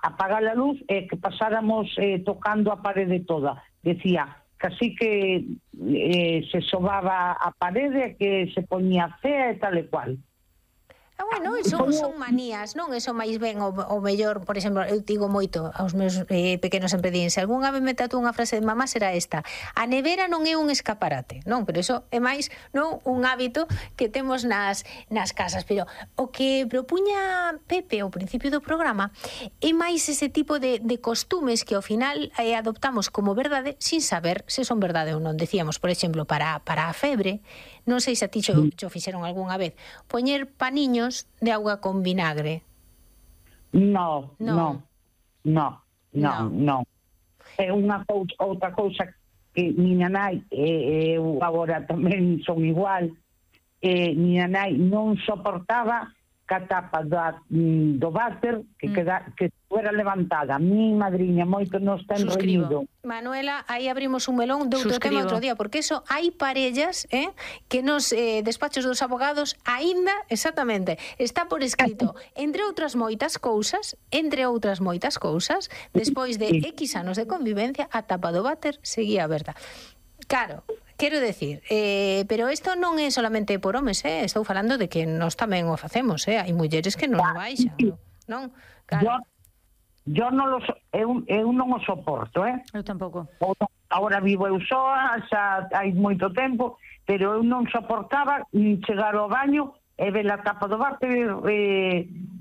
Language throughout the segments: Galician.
apagar a luz e que pasáramos tocando a parede toda. Decía, casi que se sobaba a parede, que se poñía fea e tal e cual. Bueno, son manías, non? Eso máis ben o mellor, por exemplo, eu digo moito aos meus pequenos sempre din, se algunha vez me tatúa unha frase de mamá será esta: a nevera non é un escaparate, non? Pero eso é máis, non, un hábito que temos nas casas. Pero o que propuña Pepe ao principio do programa é máis ese tipo de costumes que ao final adoptamos como verdade sin saber se son verdade ou non. Decíamos, por exemplo, para a febre, non sei se a ti xo fixeron algunha vez, poñer paniños de auga con vinagre. No. É outra cousa que miña nai, eu agora tamén son igual, miña nai non soportaba que a tapa do váter que fuera levantada. Mi madriña moito nos ten reñido. Manuela, aí abrimos un melón de outro tema outro día, porque eso hai parellas que nos despachos dos abogados aínda, exactamente, está por escrito, entre outras moitas cousas, despois de X anos de convivencia, a tapa do váter seguía aberta. Claro, quero decir, pero isto non é solamente por homes, estou falando de que nós tamén o facemos, hai mulleres que non o baixan, non? Claro. Eu non o soporto, Eu tampouco. Agora vivo eu soa, xa hai moito tempo, pero eu non soportaba chegar ao baño e ver a tapa do váter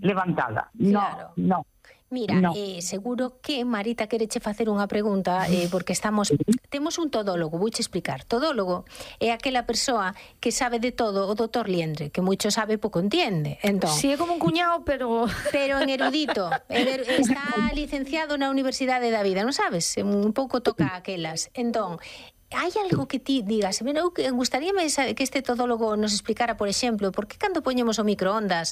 levantada. Claro. No. Mira, seguro que Marita quereche facer unha pregunta, porque temos un todólogo, vouche explicar. Todólogo é aquela persoa que sabe de todo, o doutor Liendre, que moito sabe, pouco entiende. Entón, si é como un cuñado, pero en erudito. Está licenciado na Universidade da Vida, non sabes? Un pouco toca aquelas. Entón, hai algo que ti digas, eu gustaríame que este todólogo nos explicara, por exemplo, por que cando poñemos o microondas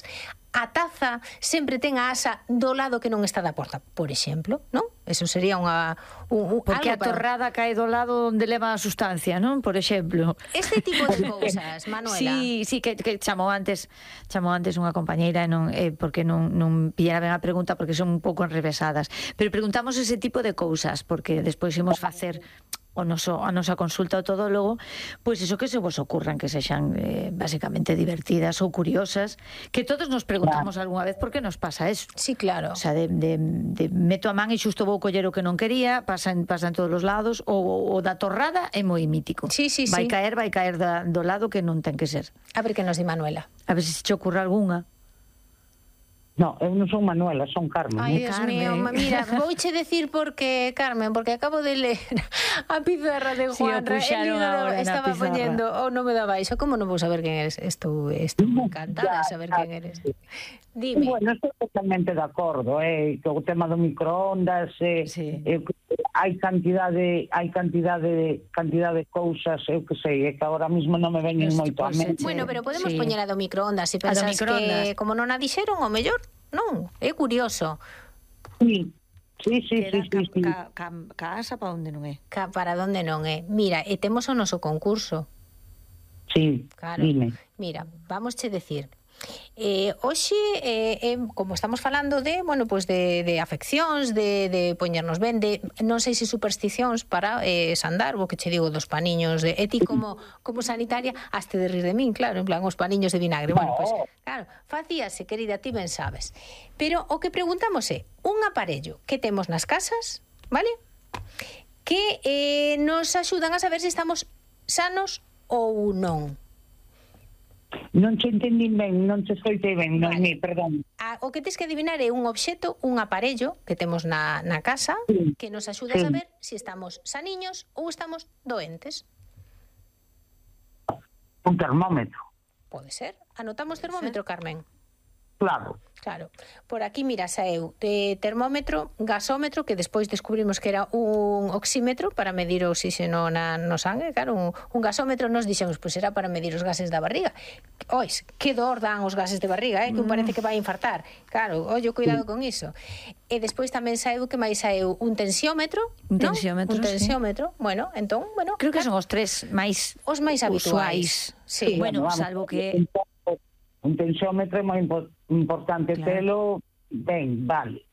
a taza sempre ten a asa do lado que non está da porta, por exemplo, non? Eso sería porque a torrada cae do lado onde leva a sustancia, non? Por exemplo. Este tipo de cousas, Manuela. Sí, que chamou antes unha compañeira e non porque non pillara ben a pregunta porque son un pouco enrevesadas, pero preguntamos ese tipo de cousas porque despois imos facer a nosa consulta ao todólogo, pois iso que se vos ocurran, que sexan basicamente divertidas ou curiosas, que todos nos preguntamos algunha vez por que nos pasa eso. Sí, claro. O sea, de meto a man e xusto vou coller o que non quería, pasa en todos os lados, o da torrada é moi mítico. Sí. Vai caer do lado que non ten que ser. A ver que nos di Manuela. A ver se che ocurre algunha. No, eu non son Manuela, son Carmen. Ai, Dios mío, mira, vouche decir porque acabo de ler a pizarra de Juanra, estaba poñendo o nome da baixo, como non vou saber quen eres? Estou encantada de saber quen eres. Dime. Bueno, estou totalmente de acordo, que o tema do microondas, hai cantidade de cousas, eu que sei, que agora mesmo non me veñen moito a mente. Bueno, pero podemos poñer a do microondas se pensas que como non a dixeron, o mellor non, é curioso. Sí. Casa para onde non é? Para onde non é. Mira, e temos o noso concurso. Sí, claro. Dime. Mira, vamos che decir. Hoxe, como estamos falando de, bueno, pues de afeccións, de poñernos ben, de non sei se supersticións para sandar, o que che digo dos paniños, e ti como sanitaria haste de rir de min, claro, en plan os paniños de vinagre. Bueno, pues claro, facíase, querida, ti ben sabes. Pero o que preguntamos é un aparello que temos nas casas, vale? Que nos axudan a saber se estamos sanos ou non. Non che entendí ben, non che escoitei ben, vale. Perdón. O que tens que adivinar é un obxeto, un aparello que temos na casa, que nos axuda a saber se estamos saniños ou estamos doentes. Un termómetro. Pode ser. Anotamos termómetro, Carmen? Claro. Por aquí, mira, saeu de termómetro, gasómetro, que despois descubrimos que era un oxímetro para medir o oxígeno no sangue. Claro, un gasómetro nos dixemos, pois era para medir os gases da barriga. Ois, que dor dan os gases de barriga, que parece que vai infartar. Claro, ollo, cuidado con iso. E despois tamén saeu que máis saeu un tensiómetro. Un tensiómetro, Bueno, entón, creo que son os tres máis habituais. Sí, bueno, salvo que un tensiómetro é moi importante telo ben, vale.